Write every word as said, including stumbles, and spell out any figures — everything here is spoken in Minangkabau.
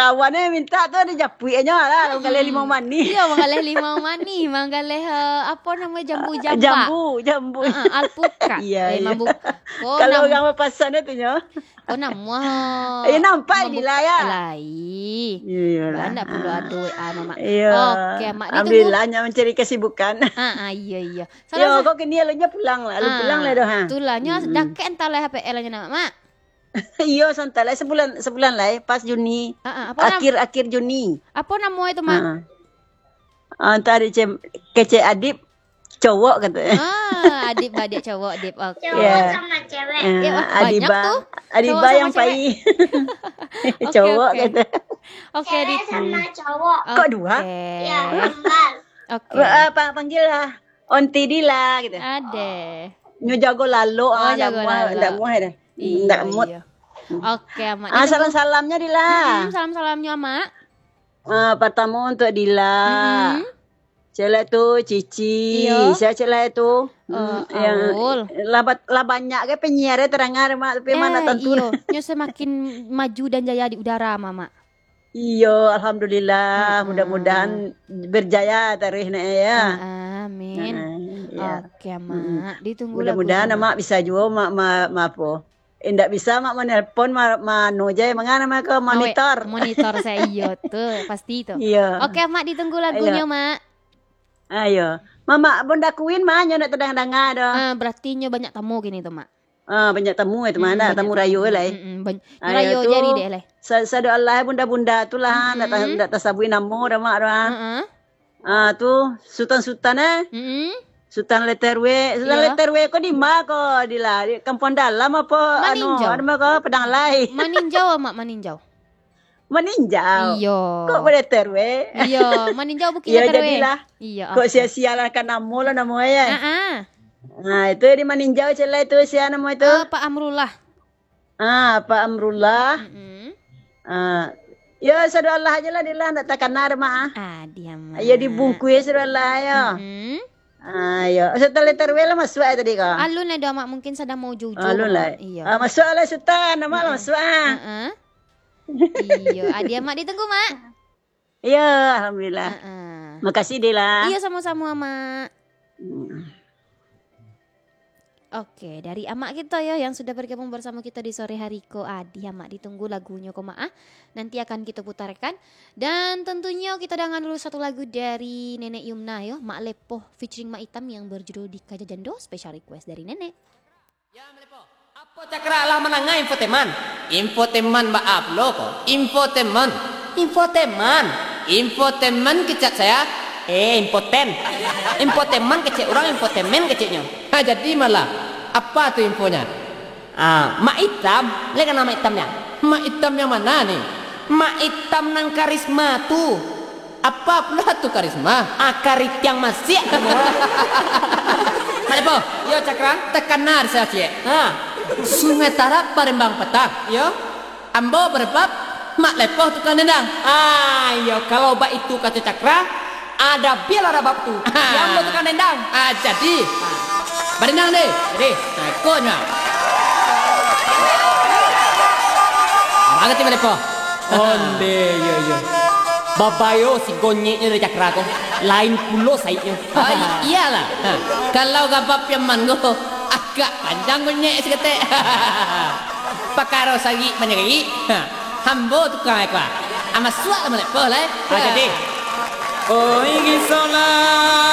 Kawan e mintak tu ado japuiknyo lah, manggaleh limau manih. Iyo, manggaleh limau manih, manggaleh, eh, apo namo, jambu jambak. Jambu, jambu. Heeh, alpukat. Iyo, eh, iyo. Mambu-, ko Kalau nam-, urang bapasan tu nyo. Ko namuah. Eh, nampak di layar. Lai. Iyolah. Ndak pulo ado W A, Mamak. Iyo. Oke, Mak, ditunggu. Alhamdulillah, nyo mancari kesibukan. Ah, ah, iyo, iyo. Yo, Salah sa- kok kini alunyo pulang lah, alun Ah, pulang lah doh, ha. Itulah, nyo Hmm. dakek antah lah H P L nyo nak, Mak. Iyo, santai lah, sebulan, sebulan lah, eh, pas Juni. Ah, ah, apo nam-, Akhir, akhir Juni. Apo namo itu, Mak? Ah. Ah, antah di cem-, kecek Adib, cowok kato. Ah, Adib badiak cowok, Adib. Oke. Cowok Iya. sama cewek. Ah, Eh, wah, banyak Adiba, tu. Adiba Cowok sama yang cewek. pai. Oke, Cowok oke. kato. Oke, Cewek di- sama cowok. Kok dua? Oke. Ya, kembar. Oke. Ba-, ah, pa-, panggil lah. Onti Dila gitu. Ade. Nyo jago lalok, Oh, ah, ndak jago muah, lalok. ndak muah dah. Iyo, Ndak mood. iyo. Oke, Mak. Ah, Ditunggu. salam-salamnyo, Dila. Mm-mm, salam-salamnyo, Mak. Ah, pertamo untuk Dila. Mm-mm. Cek lai tu, Cici. Iyo. Sia cek lai tu. Eh, Mm, yang Aul. lah bat-, lah banyak ke penyiar e terdengar, Mak, tapi Eh, mana tentu. iyo. Nyo semakin maju dan jaya di udara, Mak, Mak. Iyo, alhamdulillah. Mm-mm. Mudah-mudahan berjaya taruih nak, ya. Ah, amin. Ah, ya. Oke, Mm-mm. Mak. Ditunggu Mudah-mudahan lagunya, Mak. Mak bisa juo, Mak, ma-, ma-, apo. Indak bisa, Mak, manelpon, ma-, manu je, manga namo ko, Awek, monitor. monitor saya, iyo, tu, pasti tu. Iyo. Oke, Mak, ditunggu lagunyo, Iyo. Mak. Ayo. Mamak Bunda Queen mah, nyo ndak tadanga-danga doh. Ah, berarti nyo banyak tamu kini tu, Mak. Ah, banyak tamu itu mah, Mm-mm, nak banyak tamu tamu. rayo lai. Mm-mm, ban-, Ayo rayo tu, jari deh lai. sa-, sado alah bunda-bunda tu lah, ndak ta-, Mm-mm. ndak tasabuik namo dah, Mak, dah. Heeh. Ah, tu Sutan-Sutan, eh. Mm-mm. Sutan Leterwe, Sutan Iya. Leterwe ko di ma ko, Dila? Di Kampuang Dalam apo, anu, Maninjau. anu ma ko, Padang Alai? Maninjau, Mak, Maninjau. Maninjau? Iyo. Kok Leterwe? Iyo, Maninjau Bukik Iyo, Leterwe. jadilah. Iyo, Kok oke. sia-sia lah kan namo lah namo e, ya? Ah, ah. Nah, itu di Maninjau cek lai tu, sia namo itu? Eh, Pak Amrullah. Ah, Pak Amrullah. Mm-mm. Ah, ya, sado alah aja lah, Dila, ndak takana dah, Mak, ah. Ah, diam, Mak. Ya, dibungkui sado alah, ya. Mm-mm. Ah, ya. Sutan Leterwe lah masuak ya tadi ko? Alun lah doh, Mak. Mungkin sadang mau jujur, Alun lah. Mak. Iyo. Ah, masuak lah, Sutan. Nama lah Mm-mm. masuak, ah. Heeh. Iyo. Ah, diam, Mak. Ditunggu, Mak. Iyo, alhamdulillah. Heeh. Makasih, Dila. Iyo, samo-samo, Mak. Hmm. Oke, dari amak kito yo yang sudah bergabung bersamo kito di sore hari ko, adi amak ditunggu lagunyo ko, Mak, ah. Nanti akan kito putarkan. Dan tentunyo kito dangan dulu satu lagu dari Nenek Yumna yo, Mak Lepoh featuring Mak Itam yang berjudul Dikaja Jando, special request dari Nenek. Ya, Mak Lepoh. Apo Cakra lah manangah infoteman? Infoteman baa pulo ko? Infoteman. Infoteman. Infoteman kecek saya. Eh, impoten. Infoteman kecek urang, infotemen keceknyo. Ha, jadi malah. Apa tu infonya? Ah, Mak Itam. Lai kana Mak Itam nyo? Mak Itam yang mana ni? Mak Itam nan karisma tu. Apa pula tu karisma? Ah, karitiang masiak. Mak Lepoh. Yo, Cakra. Takana di saya ciek. Ha. Sungai Tarab barembang patah. Yo. Ambo barabab, Mak Lepoh tukang dendang. Ah, iyo, kalau baitu kato Cakra, ada bialah rabab tu. Ah. Yo, ambo tukang dendang. Ah, jadi. Badendang deh. Jadi. Nah, ikonyo. Mangati Mak Lepoh. Onde, iyo, iyo. Babayo si gonyeknyo dari Cakra ko. Lain pulo saiknyo. Ah, i-, iyolah. Ha. Kalau gabah piaman ko, agak panjang gonyek saketek. Pakaro sarik manyarik. Ha. Ambo tukang eko. Ah, masuak lah Mak Lepoh lah, eh. Ah, jadi. Oi, gisolah.